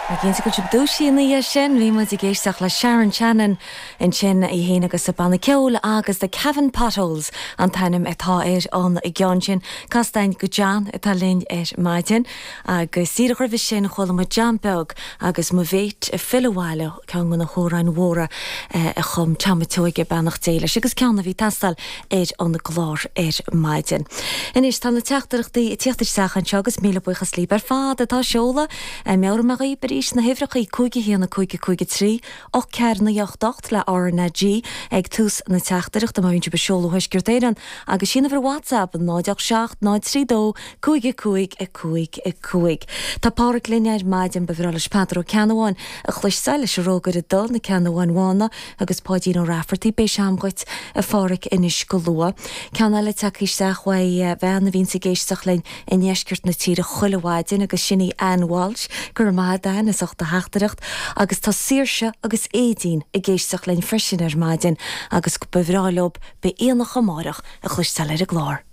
Cinnte go bhfuil sibh dúisithe ina dhiaidh sin. Bhí muid ag éisteacht le Sharon Shannon ansin, í féin agus a banna ceoil agus The Cavan Potholes an t-ainm atá ar an gceann sin. Casta againn go John atá linn ar maidin agus díreach roimhe sin chuala muid John Beag agus Mo Mhéit ag Filleadh Abhaile, ceann de na hamhráin mhóra a chum Tom a' tSeoighe, beannacht Dé leis, agus ceann a bhí ag teastáil ar an gclár ar maidin. Anois tá na teachtaireachtaí ag tíocht isteach anseo agus míle buíochas libh ar fad atá ag seoladh. Meabhróidh mé dhaoib arís na huimhreachaí, 5 1 5 5 3 8 4 9 8 8 le RnaG ag tús na teachtaireachta má bhíonn sibh ag seoladh ó Thuaisceart Éireann agus sin uimhir WhatsApp 0 8 7 0 3 2 5 5 5 5. Tá Pádhraic linn ar maidin, ba bhreá leis Peadar Ó Ceannabháin a chloisteáil leis an Rógaire Dubh, Na Ceannabháin Bhána agus Páidín Ó Raifeartaigh. Beidh sé a'm dhuit, a Phádhraic, anois go luath. Ceann eile tagtha isteach uaidh bhean a bhíonns ag éisteacht linn i ndeisceart na tíre chuile mhaidin agus sin í Ann Walsh. Go raibh maith a'd Ann as ucht do theachtaireacht. Agus tá Saoirse agus Aedín ag éisteacht linn freisin ar maidin agus ba bhreá leob Beidh Aonach Amárach a chloisteáil ar an gclár.